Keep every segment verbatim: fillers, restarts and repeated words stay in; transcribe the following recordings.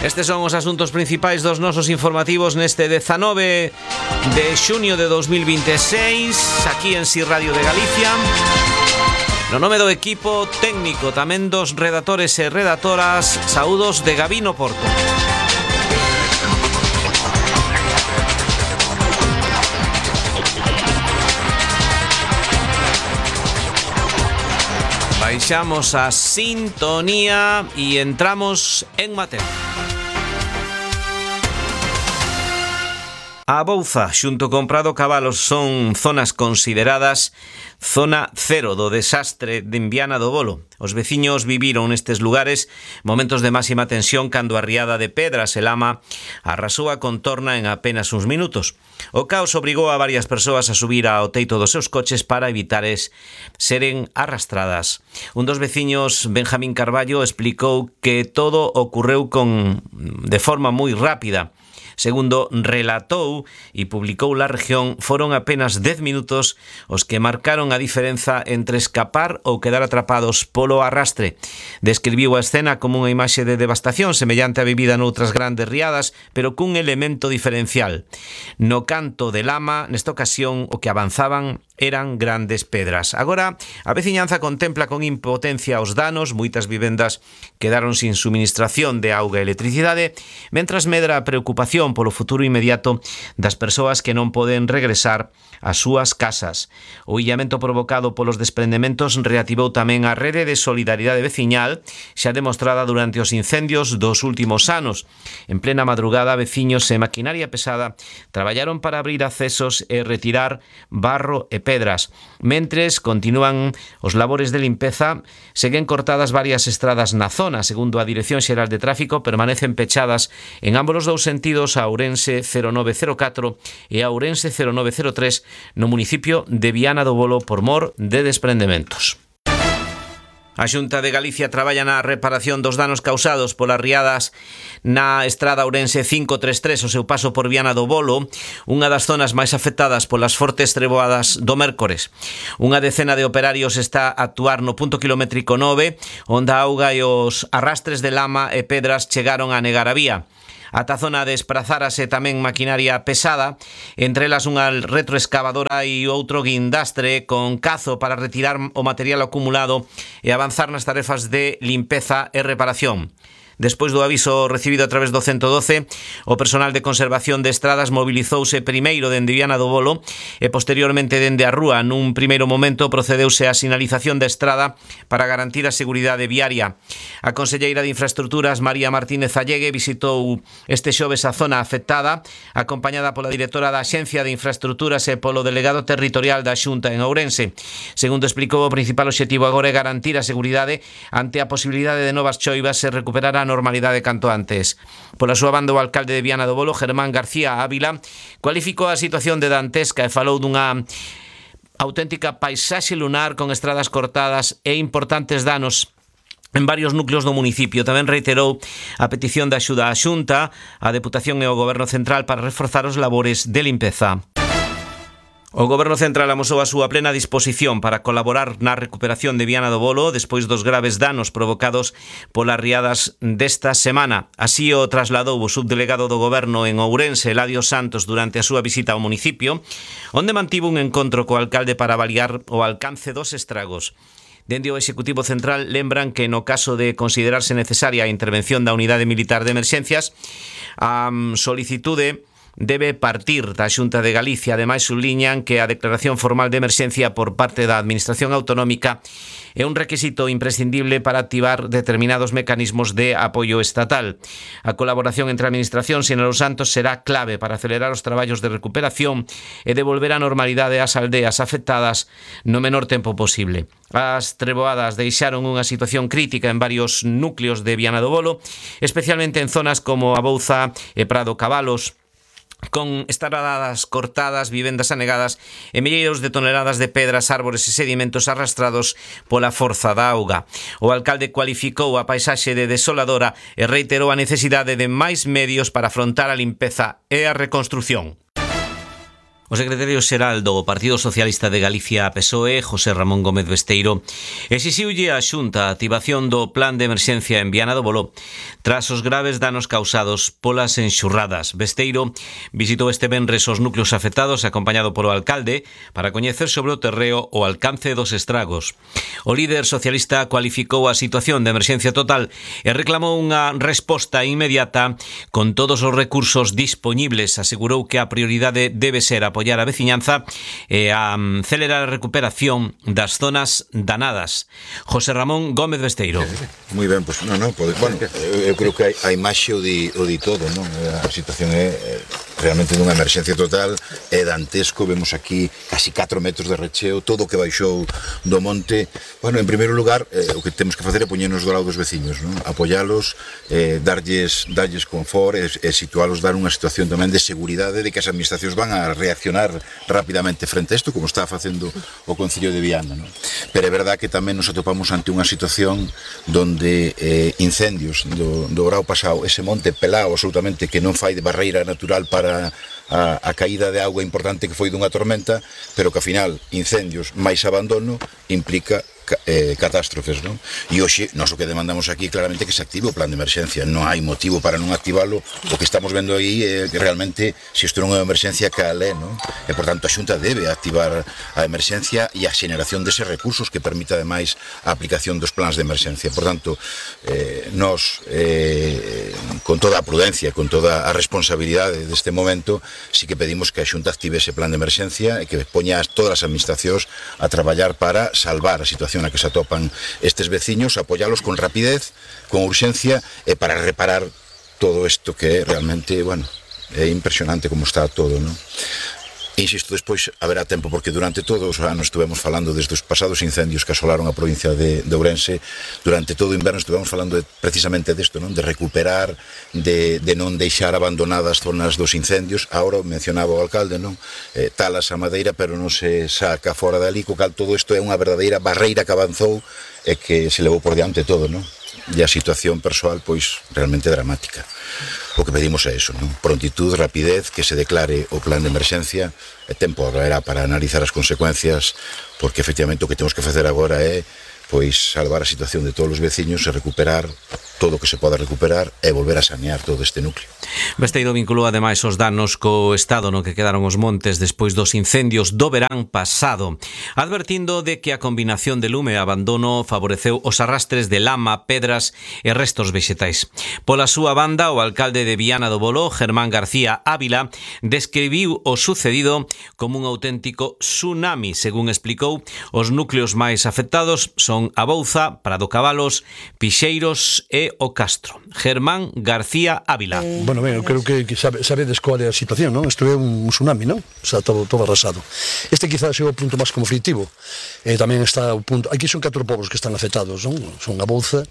Estes son os asuntos principais dos nosos informativos neste dezanove de xuño de dos mil vinte e seis, aquí en Si Radio de Galicia. No nome do equipo técnico, tamén dos redactores e redactoras, saúdos de Gabino Porto. Baixamos a sintonía e entramos en materia. A Bouza xunto con Prado Cabalos son zonas consideradas zona cero do desastre de Viana do Bolo. Os veciños viviron nestes lugares momentos de máxima tensión cando a riada de pedras e lama arrasou a contorna en apenas uns minutos. O caos obrigou a varias persoas a subir ao teito dos seus coches para evitar es seren arrastradas. Un dos veciños, Benjamín Carballo, explicou que todo ocorreu con de forma moi rápida. Segundo relatou e publicou La Región, foron apenas dez minutos os que marcaron a diferenza entre escapar ou quedar atrapados polo arrastre. Describiu a escena como unha imaxe de devastación semellante a vivida noutras grandes riadas, pero cun elemento diferencial. No canto de lama, nesta ocasión, o que avanzaban eran grandes pedras. Agora, a veciñanza contempla con impotencia os danos, moitas vivendas quedaron sin suministración de auga e electricidade, mentras medra a preocupación polo futuro inmediato das persoas que non poden regresar ás súas casas. O illamento provocado polos desprendementos reactivou tamén a rede de solidaridade veciñal xa demostrada durante os incendios dos últimos anos. En plena madrugada, veciños e maquinaria pesada traballaron para abrir accesos e retirar barro e pedras. Mentres continúan os labores de limpeza, seguen cortadas varias estradas na zona. Segundo a Dirección Xeral de Tráfico, permanecen pechadas en ambos os dous sentidos a Ourense cero nove cero catro e a Ourense cero nove cero tres no municipio de Viana do Bolo por mor de desprendementos. A Xunta de Galicia traballa na reparación dos danos causados polas riadas na estrada Ourense cinco tres tres, o seu paso por Viana do Bolo, unha das zonas máis afectadas polas fortes treboadas do mércores. Unha decena de operarios está a actuar no punto kilométrico nove, onde a auga e os arrastres de lama e pedras chegaron a negar a vía. Ata a zona desprazárase tamén maquinaria pesada, entre elas unha retroexcavadora e outro guindastre con cazo para retirar o material acumulado e avanzar nas tarefas de limpeza e reparación. Despois do aviso recibido a través do ciento doce, o personal de conservación de estradas mobilizouse primeiro dende Viana do Bolo e posteriormente dende a rúa. Nun primeiro momento procedeuse a sinalización da estrada para garantir a seguridade viaria. A conselleira de Infraestructuras, María Martínez Allegue, visitou este xoves a zona afectada, acompañada pola directora da Axencia de Infraestructuras e polo delegado territorial da Xunta en Ourense. Segundo explicou, o principal obxectivo agora é garantir a seguridade ante a posibilidade de novas choivas e recuperar a normalidade canto antes. Pola súa banda, o alcalde de Viana do Bolo, Germán García Ávila, cualificou a situación de dantesca e falou dunha auténtica paisaxe lunar con estradas cortadas e importantes danos en varios núcleos do municipio. Tamén reiterou a petición de axuda á Xunta, a Deputación e o Goberno Central para reforzar os labores de limpeza. O Goberno Central amosou a súa plena disposición para colaborar na recuperación de Viana do Bolo despois dos graves danos provocados polas riadas desta semana. Así o trasladou o subdelegado do Goberno en Ourense, Eladio Santos, durante a súa visita ao municipio, onde mantivo un encontro co alcalde para avaliar o alcance dos estragos. Dende o Executivo Central lembran que no caso de considerarse necesaria a intervención da Unidade Militar de Emerxencias, a solicitude debe partir da Xunta de Galicia. Ademais, subliñan que a declaración formal de emerxencia por parte da Administración Autonómica é un requisito imprescindible para activar determinados mecanismos de apoio estatal. A colaboración entre a Administración e os Santos será clave para acelerar os traballos de recuperación e devolver a normalidade ás aldeas afectadas no menor tempo posible. As treboadas deixaron unha situación crítica en varios núcleos de Viana do Bolo, especialmente en zonas como a Bouza e Prado Cabalos, con estradas cortadas, vivendas anegadas e milleiros de toneladas de pedras, árbores e sedimentos arrastrados pola forza da auga. O alcalde cualificou a paisaxe de desoladora e reiterou a necesidade de máis medios para afrontar a limpeza e a reconstrución. O secretario xeral do Partido Socialista de Galicia P S O E, José Ramón Gómez Besteiro, exixiulle á Xunta a activación do plan de emerxencia en Viana do Bolo tras os graves danos causados polas enxurradas. Besteiro visitou este venres os núcleos afectados acompañado polo alcalde para coñecer sobre o terreo o alcance dos estragos. O líder socialista cualificou a situación de emerxencia total e reclamou unha resposta inmediata con todos os recursos dispoñibles. Asegurou que a prioridade debe ser a apoyar a veciñanza e a acelerar a recuperación das zonas danadas. José Ramón Gómez Besteiro. Moi ben, pois, non, non, pode, bueno, eu creo que a imaxe o di, o di todo, non? A situación é realmente dunha emerxencia total, é dantesco, vemos aquí casi catro metros de recheo, todo o que baixou do monte. Bueno, en primeiro lugar, eh, o que temos que facer é poñernos do lado dos veciños, non? Apoialos, eh, darlles, darlles confort e, e situalos, dar unha situación tamén de seguridade de que as administracións van a reaccionar rapidamente frente a isto, como está facendo o Concello de Viana, ¿no? Pero é verdad que tamén nos atopamos ante unha situación donde eh, incendios do, do grau pasado, ese monte pelado absolutamente que non fai de barreira natural para a, a caída de auga importante que foi dunha tormenta, pero que ao final incendios máis abandono implica Eh, catástrofes, non? E hoxe, nós o que demandamos aquí claramente que se active o plan de emerxencia. Non hai motivo para non activalo. O que estamos vendo aí é que realmente se isto non é unha emerxencia, cal é, non? E, por tanto, a Xunta debe activar a emerxencia e a xeneración deses recursos que permita, ademais, a aplicación dos plans de emerxencia. Por tanto, eh, nós, eh, con toda a prudencia, con toda a responsabilidade deste momento, sí que pedimos que a Xunta active ese plan de emerxencia e que poña todas as administracións a traballar para salvar a situación na que se atopan estes veciños, apoialos con rapidez, con urxencia e para reparar todo isto que realmente, bueno, é impresionante como está todo, non? Insisto, despois haberá tempo porque durante todos os anos estuvemos falando desde os pasados incendios que asolaron a provincia de, de Ourense, durante todo o inverno estuvemos falando de, precisamente desto, non? De recuperar, de, de non deixar abandonadas zonas dos incendios. Ahora mencionaba o alcalde, non? Eh, talas a madeira, pero non se saca fora dali, co cal todo isto é unha verdadeira barreira que avanzou e que se levou por diante todo, non? E a situación persoal, pois, realmente dramática. O que pedimos é eso, non? Prontitud, rapidez, que se declare o plan de emerxencia, e tempo era para analizar as consecuencias, porque efectivamente o que temos que facer agora é pois salvar a situación de todos os veciños e recuperar todo o que se poda recuperar e volver a sanear todo este núcleo. Besteiro vinculou ademais os danos co estado no que quedaron os montes despois dos incendios do verán pasado, advertindo de que a combinación de lume e abandono favoreceu os arrastres de lama, pedras e restos vexetais. Pola súa banda, o alcalde de Viana do Bolo, Germán García Ávila, describiu o sucedido como un auténtico tsunami. Según explicou, os núcleos máis afectados son a Bouza, Prado Cabalos, Pixeiros e o Castro. Germán García Ávila. Bueno, ben, eu creo que, que sabe, sabedes cual é a situación, non? Isto é un tsunami, non? Está todo, todo arrasado. Este quizás é o punto máis conflictivo. E tamén está o punto... Aquí son catro povos que están afectados, non? Son a Bouza,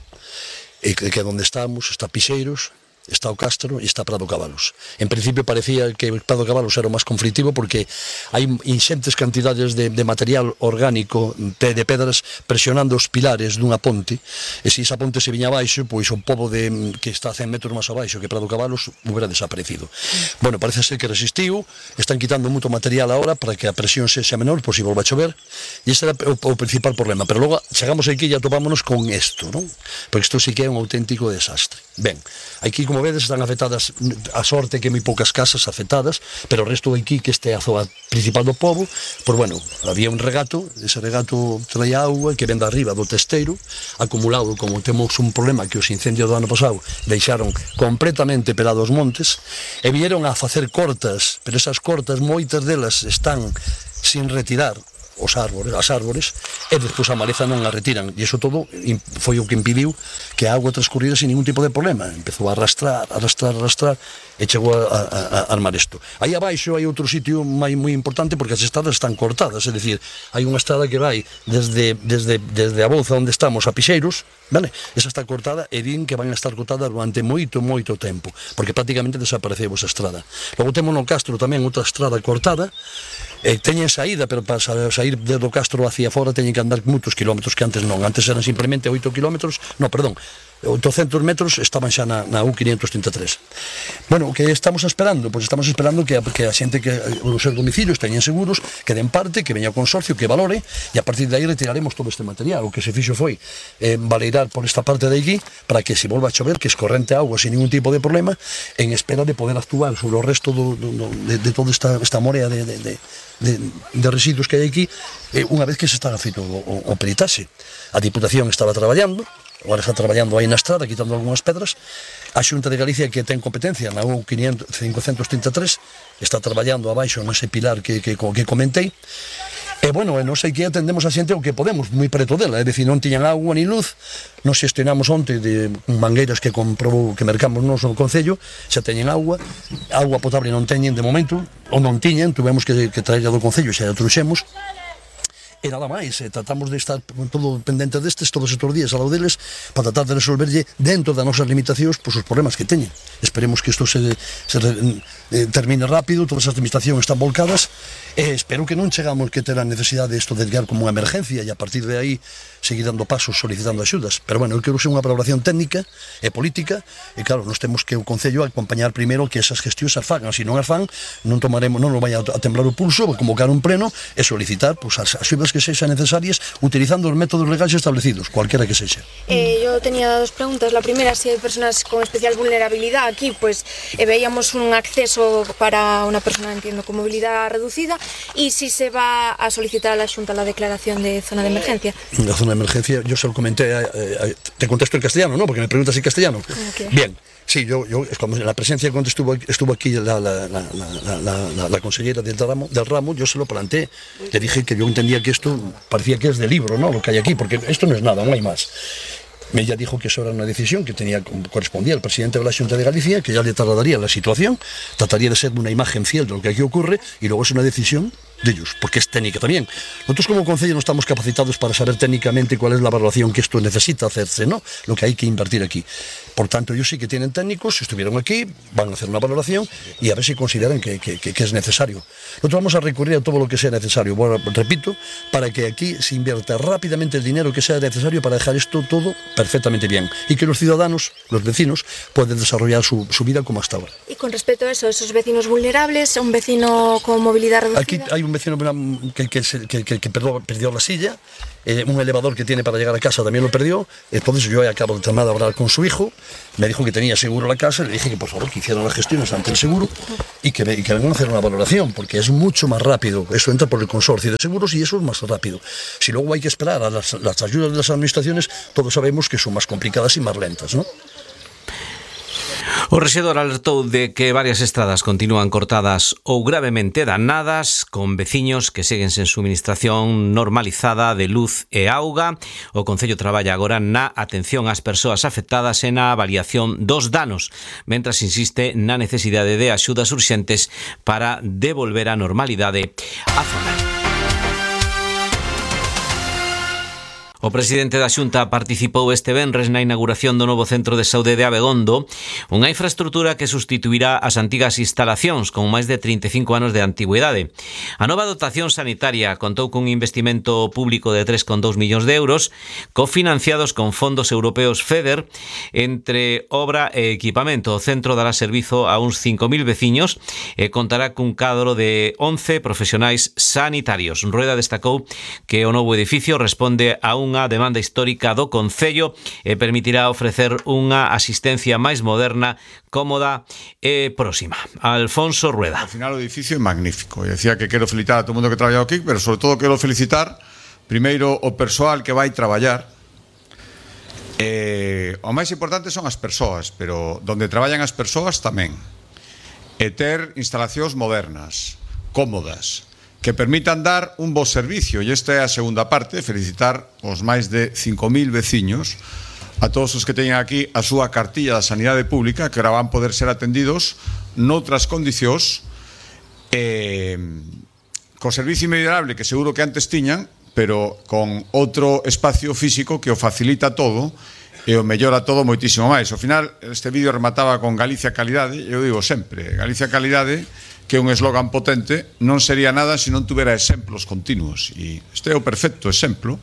e que é onde estamos, está Pixeiros, está o Castro e está Prado Cabalos. En principio parecía que Prado Cabalos era o máis conflictivo porque hai inxentes cantidades de, de material orgánico de pedras presionando os pilares dunha ponte, e se esa ponte se viña abaixo, pois o pobo de, que está a cen metros máis abaixo que Prado Cabalos hubiera desaparecido. Bueno, parece ser que resistiu, están quitando moito material agora para que a presión sexa menor por si volva a chover, e ese era o, o principal problema. Pero logo chegamos aquí e atopámonos con isto, non? Porque isto sí que é un auténtico desastre. Ben, aquí como vedes están afectadas, a sorte que hai moi poucas casas afectadas, pero o resto de aquí que este é a zona principal do pobo, pois bueno, había un regato, ese regato traía auga que ven de arriba do testeiro, acumulado, como temos un problema que os incendios do ano pasado deixaron completamente pelados montes, e vieron a facer cortas, pero esas cortas moitas delas están sin retirar os árbores, as árbores, e despois a maleza non a retiran, e iso todo foi o que impediu que a auga transcurrira sin ningún tipo de problema. Empezou a arrastrar, arrastrar, arrastrar, e chegou a, a, a armar isto. Aí abaixo hai outro sitio moi moi importante porque as estradas están cortadas, é dicir, hai unha estrada que vai desde, desde, desde a Bouza onde estamos a Pixeiros, vale? Esa está cortada e din que van a estar cortadas durante moito, moito tempo, porque prácticamente desapareceu esa estrada. Logo temos no Castro tamén outra estrada cortada, e teñen saída, pero para sair do Castro hacia fora teñen que andar moitos kilómetros que antes non, antes eran simplemente oito kilómetros, non, perdón, oitocentos metros estaban xa na, na U quinientos trinta e tres. Bueno, o que estamos esperando? Pois estamos esperando que a, que a xente que os seus domicilios teñen seguros, que den parte, que veña o consorcio, que valore, e a partir de aí retiraremos todo este material. O que se fixo foi eh, valeirar por esta parte de aquí para que se volva a chover, que escorrente agua sin ningún tipo de problema, en espera de poder actuar sobre o resto do, do, do, de, de toda esta, esta morea de, de, de, de, de residuos que hai aquí, eh, unha vez que se está feito o, o, o peritaxe. A Diputación estaba traballando, agora está traballando aí na estrada, quitando algunhas pedras. A Xunta de Galicia, que ten competencia na U quinientos trinta e tres, está traballando abaixo nese pilar que, que, que comentei. E, bueno, non sei que atendemos a xente o que podemos, moi preto dela, é dicir, non tiñan agua ni luz. Nos gestionamos onte de mangueiras que comprobou, que mercamos nos no Concello, xa teñen agua, agua potable non teñen de momento, ou non tiñen, tuvemos que, que traerla do Concello, xa a truxemos. E nada máis, eh, tratamos de estar todo pendente destes todos estes días ao lado deles para tratar de resolverlle dentro das nosas limitacións pois, os problemas que teñen. Esperemos que isto se, se eh, termine rápido, todas as administracións están volcadas e espero que non chegamos que ter a necesidade de isto de guiar como unha emergencia e a partir de aí seguir dando pasos solicitando axudas. Pero bueno, eu quero ser unha valoración técnica e política e claro, nos temos que o Concello acompañar primeiro que esas gestións as fagan, se non as fan non tomaremos, non nos vai a temblar o pulso, convocar un pleno e solicitar pois, as axudas que sexan necesarias utilizando os métodos legais establecidos, cualquiera que sexa. Eh, yo tenía dos preguntas. La primera, si hay personas con especial vulnerabilidad aquí, pues eh, veíamos un acceso para una persona, entiendo, con movilidad reducida, y si se va a solicitar a la Xunta la declaración de zona de emergencia. La zona de emergencia, yo se lo comenté, eh, eh, te contesto en castellano, ¿no? Porque me preguntas en castellano. Okay. Bien. Sí, yo, yo en la presencia cuando estuvo, estuvo aquí la, la, la, la, la, la, la consellera del ramo, del ramo, yo se lo planteé, le dije que yo entendía que esto parecía que es de libro, ¿no? Lo que hay aquí, porque esto no es nada, no hay más. Ella dijo que eso era una decisión que tenía correspondía al presidente de la Xunta de Galicia, que ya le trasladaría la situación, trataría de ser una imagen fiel de lo que aquí ocurre y luego es una decisión de ellos, porque es técnica también. Nosotros como Concello no estamos capacitados para saber técnicamente cuál es la valoración que esto necesita hacerse, ¿no? Lo que hay que invertir aquí. Por tanto, ellos sí que tienen técnicos, estuvieron aquí, van a hacer una valoración y a ver si consideran que, que, que, que es necesario. Nosotros vamos a recurrir a todo lo que sea necesario, bueno, repito, para que aquí se invierta rápidamente el dinero que sea necesario para dejar esto todo perfectamente bien y que los ciudadanos, los vecinos, puedan desarrollar su, su vida como hasta ahora. Y con respecto a eso, esos vecinos vulnerables, un vecino con movilidad reducida... Aquí hay un vecino que, que, que, que, que perdió, perdió la silla, eh, un elevador que tiene para llegar a casa también lo perdió, entonces yo acabo de terminar de hablar con su hijo, me dijo que tenía seguro la casa, le dije que por favor que hicieran las gestiones ante el seguro y que, y que vengan a hacer una valoración, porque es mucho más rápido, eso entra por el consorcio de seguros y eso es más rápido. Si luego hay que esperar a las, las ayudas de las administraciones, todos sabemos que son más complicadas y más lentas, ¿no? O rexedor alertou de que varias estradas continúan cortadas ou gravemente danadas, con veciños que seguen sen suministración normalizada de luz e auga. O Concello traballa agora na atención ás persoas afectadas e na avaliación dos danos, mentras insiste na necesidade de axudas urxentes para devolver a normalidade á zona. O presidente da Xunta participou este venres na inauguración do novo centro de saúde de Abegondo, unha infraestrutura que sustituirá as antigas instalacións con máis de trinta e cinco anos de antigüidade. A nova dotación sanitaria contou cun investimento público de tres coma dous millóns de euros, cofinanciados con fondos europeos FEDER, entre obra e equipamento. O centro dará servizo a uns cinco mil veciños e contará cun cadro de once profesionais sanitarios. Rueda destacou que o novo edificio responde a un unha demanda histórica do Concello e permitirá ofrecer unha asistencia máis moderna, cómoda e próxima. Alfonso Rueda. Al final o edificio é magnífico. E decía que quero felicitar a todo o mundo que traballou aquí, pero sobre todo quero felicitar primeiro o persoal que vai traballar. Eh, o máis importante son as persoas, pero donde traballan as persoas tamén. E ter instalacións modernas, cómodas, que permitan dar un bo servicio, e esta é a segunda parte, felicitar os máis de cinco mil veciños, a todos os que teñen aquí a súa cartilla da Sanidade Pública, que ahora van poder ser atendidos noutras condicións, eh, co servicio inmediable que seguro que antes tiñan, pero con outro espacio físico que o facilita todo e o mellora todo moitísimo máis. Ao final, este vídeo remataba con Galicia Calidade, eu digo sempre, Galicia Calidade, que é un eslogan potente, non sería nada se non tuvera exemplos continuos, e este é o perfecto exemplo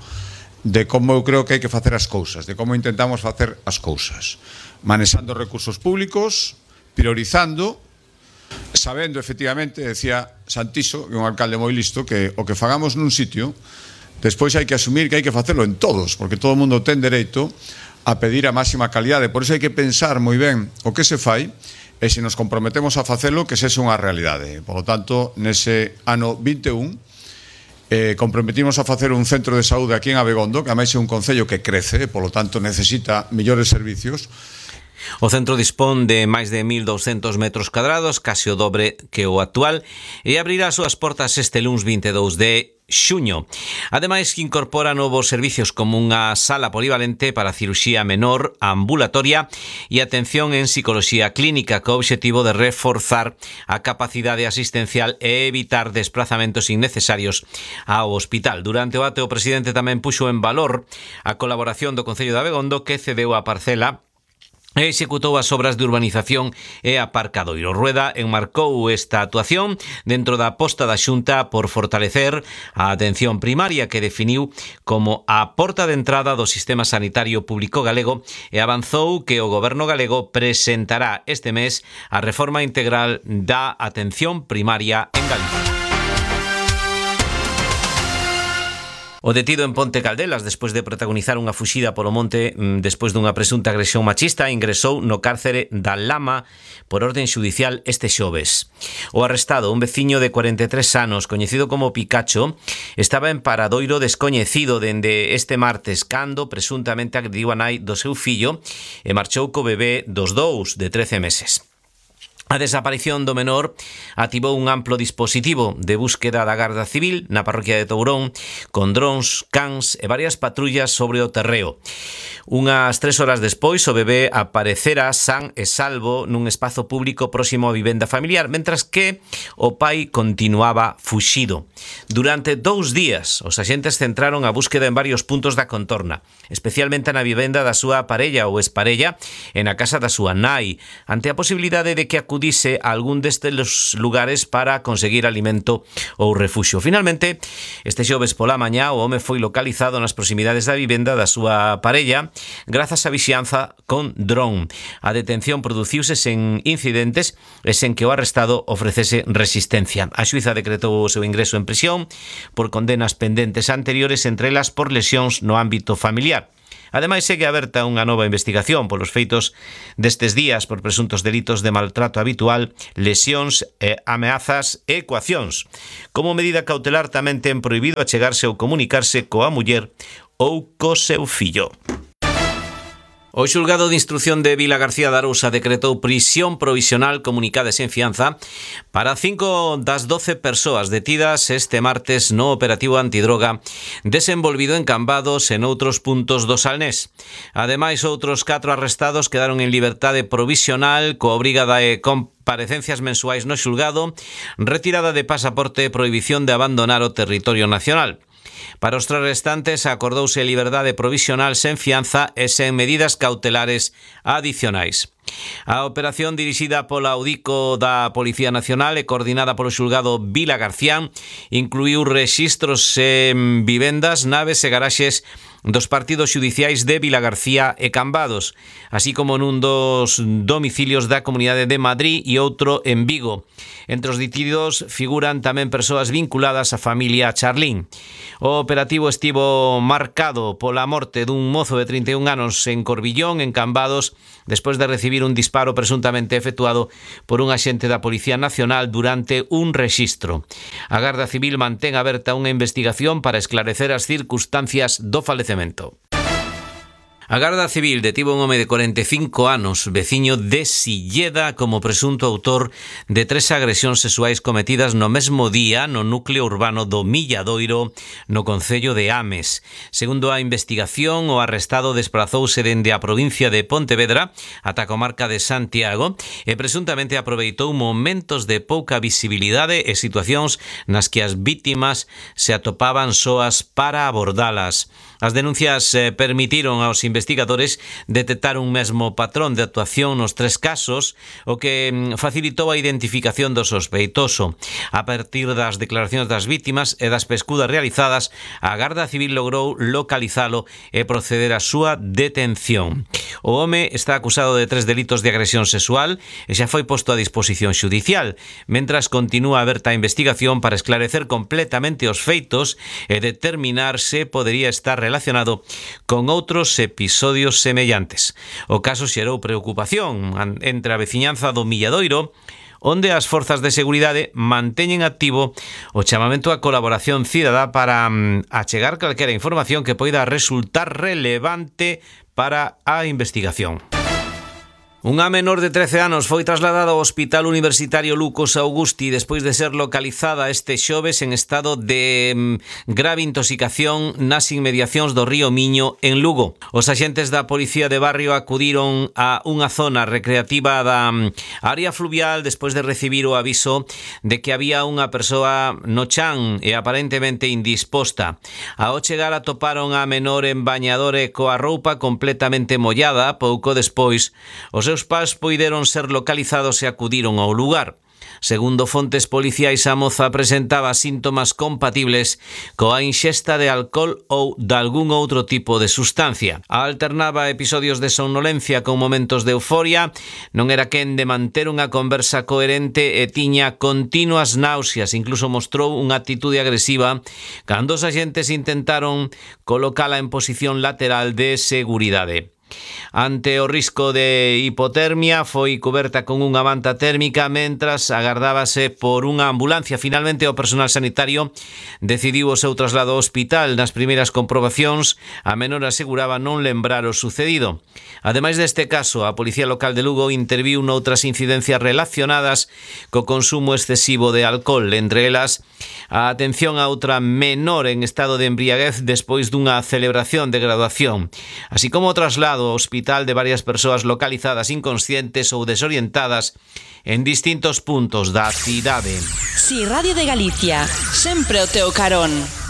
de como eu creo que hai que facer as cousas, de como intentamos facer as cousas, manexando recursos públicos, priorizando, sabendo efectivamente, decía Santiso, que é un alcalde moi listo, que o que fagamos nun sitio, despois hai que asumir que hai que facelo en todos, porque todo o mundo ten dereito a pedir a máxima calidade. Por iso hai que pensar moi ben o que se fai e se nos comprometemos a facelo, que sexa unha realidade. Por lo tanto, nese ano vinte e un, eh, comprometimos a facer un centro de saúde aquí en Abegondo, que ademais é un concello que crece, por lo tanto necesita millores servicios. O centro dispón de máis de mil douscentos metros cadrados, case o dobre que o actual, e abrirá as súas portas este luns vinte e dous de xuño. Ademais, incorpora novos servicios como unha sala polivalente para cirurxía menor, ambulatoria e atención en psicoloxía clínica, co obxectivo de reforzar a capacidade asistencial e evitar desplazamentos innecesarios ao hospital. Durante o acto, o presidente tamén puxo en valor a colaboración do Concello de Abegondo, que cedeu a parcela e executou as obras de urbanización e aparcadoiro. Rueda enmarcou esta actuación dentro da aposta da Xunta por fortalecer a atención primaria, que definiu como a porta de entrada do sistema sanitario público galego, e avanzou que o goberno galego presentará este mes a reforma integral da atención primaria en Galicia. O detido en Ponte Caldelas, despois de protagonizar unha fuxida polo monte despois dunha presunta agresión machista, ingresou no cárcere da Lama por orden xudicial este xoves. O arrestado, un veciño de cuarenta e tres anos, coñecido como Picacho, estaba en paradoiro descoñecido dende este martes, cando presuntamente agrediu a nai do seu fillo e marchou co bebé dos dous de trece meses. A desaparición do menor activou un amplo dispositivo de búsqueda da Garda Civil na parroquia de Tourón, con drons, cans e varias patrullas sobre o terreo. Unhas tres horas despois, o bebé aparecera san e salvo nun espazo público próximo á vivenda familiar, mentras que o pai continuaba fuxido. Durante dous días, os axentes centraron a búsqueda en varios puntos da contorna, especialmente na vivenda da súa parella ou exparella e na casa da súa nai, ante a posibilidade de que acudise a algún destes lugares para conseguir alimento ou refuxio. Finalmente, este xoves pola mañá, o home foi localizado nas proximidades da vivenda da súa parella grazas a vixianza con dron. A detención produciuse sen incidentes e sen que o arrestado ofrecese resistencia. A xuíza decretou o seu ingreso en prisión por condenas pendentes anteriores, entre elas por lesións no ámbito familiar. Ademais, segue aberta unha nova investigación polos feitos destes días por presuntos delitos de maltrato habitual, lesións, e ameazas e coaccións. Como medida cautelar, tamén ten prohibido achegarse ou comunicarse coa muller ou co seu fillo. O xulgado de instrución de Vila García de Arousa decretou prisión provisional comunicada e sen fianza para cinco das doce persoas detidas este martes no operativo antidroga desenvolvido en Cambados e noutros puntos do Salnés. Ademais, outros catro arrestados quedaron en liberdade provisional coa obriga de comparecencias mensuais no xulgado, retirada de pasaporte e prohibición de abandonar o territorio nacional. Para os tres restantes acordouse liberdade provisional sen fianza e sen medidas cautelares adicionais. A operación dirixida pola Audico da Policía Nacional e coordinada polo xulgado Vila García incluíu rexistros en vivendas, naves e garaxes dos partidos xudiciais de Vila García e Cambados, así como nun dos domicilios da Comunidade de Madrid e outro en Vigo. Entre os detidos figuran tamén persoas vinculadas á familia Charlín. O operativo estivo marcado pola morte dun mozo de trinta e un anos en Corbillón, en Cambados, despois de recibir un disparo presuntamente efectuado por un axente da Policía Nacional durante un rexistro. A Garda Civil mantén aberta unha investigación para esclarecer as circunstancias do falecemento. A Garda Civil detivo un home de cuarenta e cinco anos, veciño de Silleda, como presunto autor de tres agresións sexuais cometidas no mesmo día no núcleo urbano do Milladoiro, no concello de Ames. Segundo a investigación, o arrestado desplazouse dende a provincia de Pontevedra ata a comarca de Santiago e presuntamente aproveitou momentos de pouca visibilidade e situacións nas que as vítimas se atopaban soas para abordalas. As denuncias eh, permitiron aos investigadores detectar un mesmo patrón de actuación nos tres casos, o que mm, facilitou a identificación do sospeitoso. A partir das declaracións das vítimas e das pescudas realizadas, a Garda Civil logrou localizalo e proceder á súa detención. O home está acusado de tres delitos de agresión sexual e xa foi posto a disposición xudicial, mentras continúa aberta a investigación para esclarecer completamente os feitos e determinar se podería estar relacionado con outros episodios semellantes. O caso xerou preocupación entre a veciñanza do Milladoiro, onde as forzas de seguridade manteñen activo o chamamento á colaboración cidadá para um, achegar calquera información que poida resultar relevante para a investigación. Unha menor de trece anos foi trasladada ao Hospital Universitario Lucos Augusti despois de ser localizada este xoves en estado de mm, grave intoxicación nas inmediacións do río Miño en Lugo. Os axentes da Policía de Barrio acudiron a unha zona recreativa da mm, área fluvial despois de recibir o aviso de que había unha persoa no chan e aparentemente indisposta. Ao chegar atoparon a menor en bañador e coa roupa completamente mollada. Pouco despois, os Os pais poideron ser localizados e acudiron ao lugar. Segundo fontes policiais, a moza presentaba síntomas compatibles coa inxesta de alcohol ou de algún outro tipo de sustancia. Alternaba episodios de somnolencia con momentos de euforia, non era quen de manter unha conversa coherente e tiña continuas náuseas, incluso mostrou unha actitude agresiva cando os axentes intentaron colocala en posición lateral de seguridade. Ante o risco de hipotermia, foi coberta con unha manta térmica mentras agardábase por unha ambulancia. Finalmente, o personal sanitario decidiu o seu traslado ao hospital. Nas primeiras comprobacións, a menor aseguraba non lembrar o sucedido. Ademais deste caso, a Policía Local de Lugo interviu noutras incidencias relacionadas co consumo excesivo de alcohol, entre elas a atención a outra menor en estado de embriaguez despois dunha celebración de graduación, así como o traslado ao hospital de varias persoas localizadas inconscientes ou desorientadas en distintos puntos da cidade. Si Radio de Galicia, sempre o teu carón.